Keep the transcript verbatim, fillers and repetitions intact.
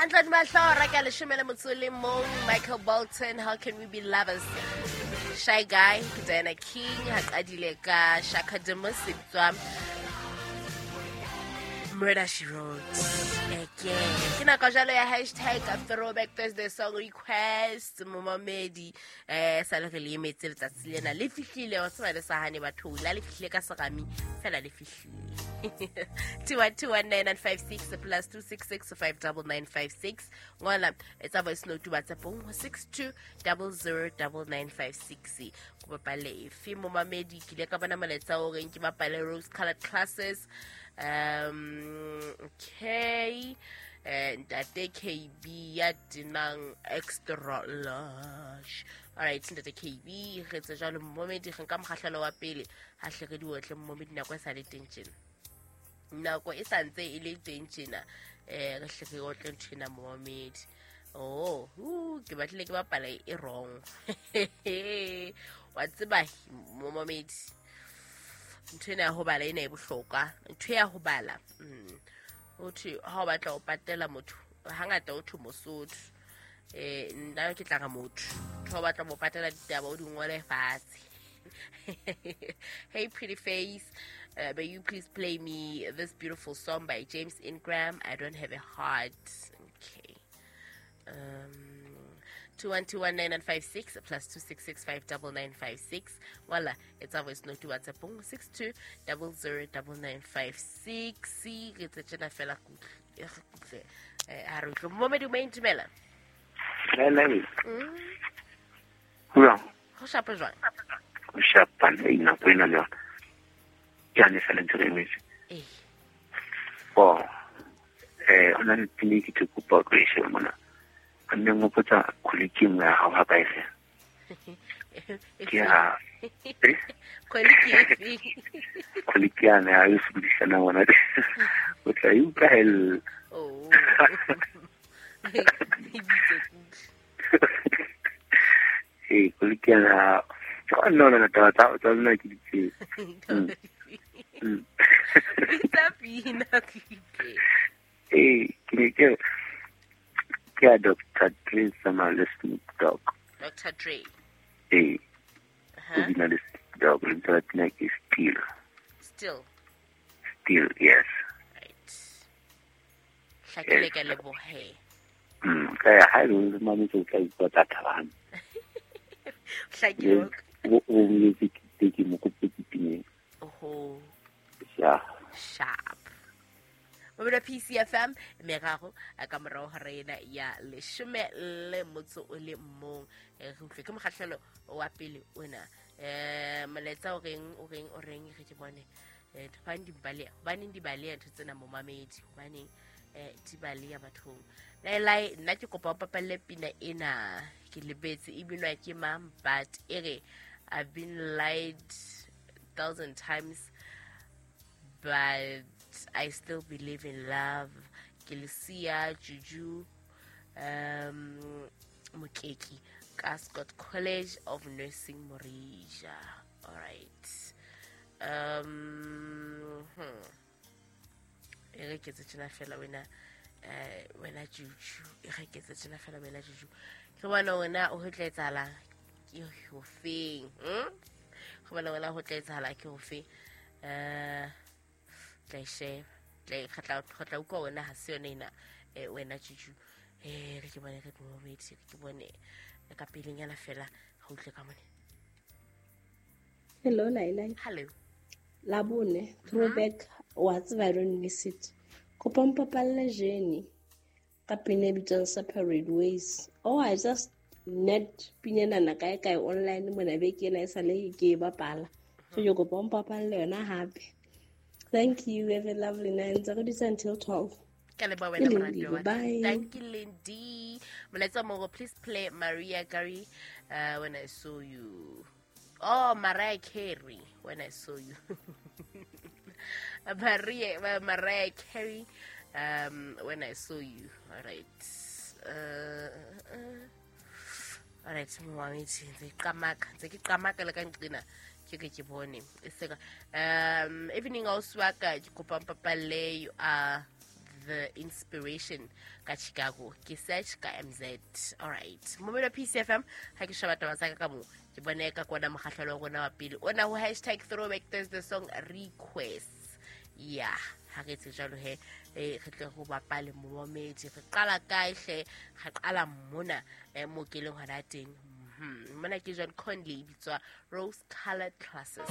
Hantle mahlora ka leshome le motso le mong, Michael Bolton, How Can We Be Lovers? Shy Guy, ke Diana King, ha qadile ka Shaka Demus, e bitswa Murder She Wrote. Again. Ke nako jalo ya hashtag Throwback Thursday song request, momamedi, eh, sa le re le emetse letsatsi lena, le fihlile, wa tseba le sa hane batho, la le fihlile ka serami, fela le fihlile. two one two one nine nine five six plus two six six five double nine five six. Ngola etsa voice note WhatsApp six two double zero double nine five six. Ko bapale efe momamedi, ke ile ka bona molaetsa o reng ke bapale rose colored classes. Um, okay. Eh, ntate K B ya tenang extra large. All right, ntate K B re tse jalo momedi, re nka mokgahlelo wa pele ha hle re di otle momedi, nako e sa le teng tjena. Nako e sa ntse e le teng tjena, eh, re hle re otle ntho ena momedi. Oh, hu, ke batlile ke bapala e wrong. Wa tseba momedi, ntho ena ya ho bala ena e bohlokwa. Ntho ya ho bala, mm, o thwe ha o batla ho patela motho, hangata o thwe Mosotho. Eh, nna ke tla re motho. Ha o batla ho patela ditaba o di ngole fatshe. Hey pretty face, uh, may you please play me this beautiful song by James Ingram, I Don't Have a Heart. Okay. Um, two one two one nine nine five six plus two six six five double nine five six. Voila, it's our voice note to WhatsApp six two double zero double nine five six. Re tse tjena fela kutle. Eh, ha re utlwe. Momedi o maintumela. Lele. Mm. Ho Ho shapa jwang? Ho shapa le nako ena le yona. Ke a ne sala ntse re emetse. Eh. Oh. Eh, ona le pini ke te kopa o e shebe mona. Nne ngopotsa kholiki nngwe ya hao ha ka e fe. Ke ya Kholiki efe? Kholiki yana ya e sebedisana ngwana. O tla e utlwa hell. Oh. Ee, kholiki yana. No, no, no, taba tsa tsa lona ke di tsebe. Mm. Bitsa pina kutle. Ee, ke ne ke ke ya Doctor Dre sama le Snoop Dogg. Doctor Dre. Ee. Uh-huh. O bina le Snoop Dogg, lebitso la pina ke Still. Still. Still, yes. Right. Hlakile ka lebohe. Mm, ka ya ha e le mametse o tla utlwa tsa thabang. Hlakile. O o boletse ke ke mo kope ke pineng. Oho. Yeah. Sharp. Mobile P C F M meraro ka morao ho rena ya leshome le motso o le mong. Re utlwe ke mokgahlelo wa pele ona. Eh, molaetsa o reng o reng o reng re ke bone. Eh, hobane di baleha, hobane di baleha ntho tsena momamedi, hobane eh di baleha bathong. Laelai nna ke kopa o papalle pina ena, ke lebetse e binwa ke mang, but e re I've been lied thousand times but I still believe in love. Ke Lucia Juju um Mokeki ka Scott College of Nursing Morija. All right. Um hmm. E re ke tse tjena fela wena, eh wena Juju, e re ke tse tjena fela wena Juju. Ke bona wena o tla etsahala ke ho feng? Hm? Ke bona wena ho tla etsahala ke ho feng? Eh tla e sheba, tla e kgatla kgatla utlwa wena ha se yone ena, eh wena Juju. Eh re ke bone re ke momedi, re ke bone ka pelenyana fela ha utlwe ka mone. Hello Laila. Hello. Labone, throwback, wa tseba I don't miss it. Kopa mpapalle Jenny ka pina e bitswang Separate Ways. Oh, I just net pina ena kae kae online mona beke ena e sale ke e bapala. So ke kopa mpapalle yona hape. Thank you. Have a lovely night. Ntse re dutse until twelve. Ka leboha wena Ke moratuwa Lindy, wa ka. bye. Thank you, Lindy. Molaetsa moro, please play Maria Carey uh, when I saw you. Oh, Mariah Carey, when I saw you. Maria, uh, Mariah Carey, um, when I saw you. All right. Uh, uh, all right. Mommy, ntse ke qamaka, ntse ke qamaka le ka nqina. Ke ke ke bone. E seka. Um, evening ausi wa ka, ke kopa mpapalle, you are The Inspiration ka Chicago. Ke search ka M Z. Alright, momelo P C F M, ha ke sheba taba tsa ka ka mo ke bone ka kona mokgahlelo wa rona wa pele ona ho hashtag throwback Thursday song request. Yeah, ha re tse jwalo he, eh re tle go bapale momedi. Re qala kae hle? Re qala mona eh mo ke leng hona teng. Mona ke John Conley, bitswa Rose Colored Glasses.